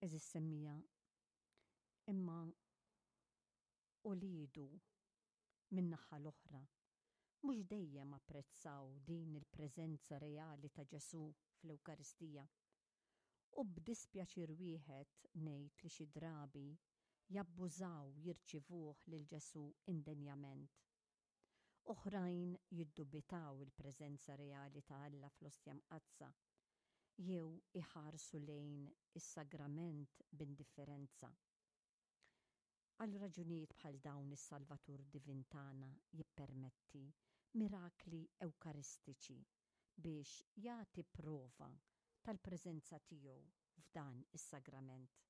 Għeżież semmiegħa, imma uliedu min-naħa l-oħra mhux dejjem apprezzaw din il-preżenza reali ta' Ġesù fl-Ewkaristija. U b'dispjaċir wieħed ngħid li xi drabi jabbużaw jirċivuh lil Ġesù indenjament. Oħrajn jiddubitaw il-preżenza reali ta' Alla fl-Ostja Mqaddsa jew iħarsu lejn is-sagrament b'indifferenza. Għal raġunijiet bħal dawn is-Salvatur Divin tagħna jippermetti mirakli Ewkaristiċi biex jagħti prova tal-preżenza tiegħu f'dan is-sagrament.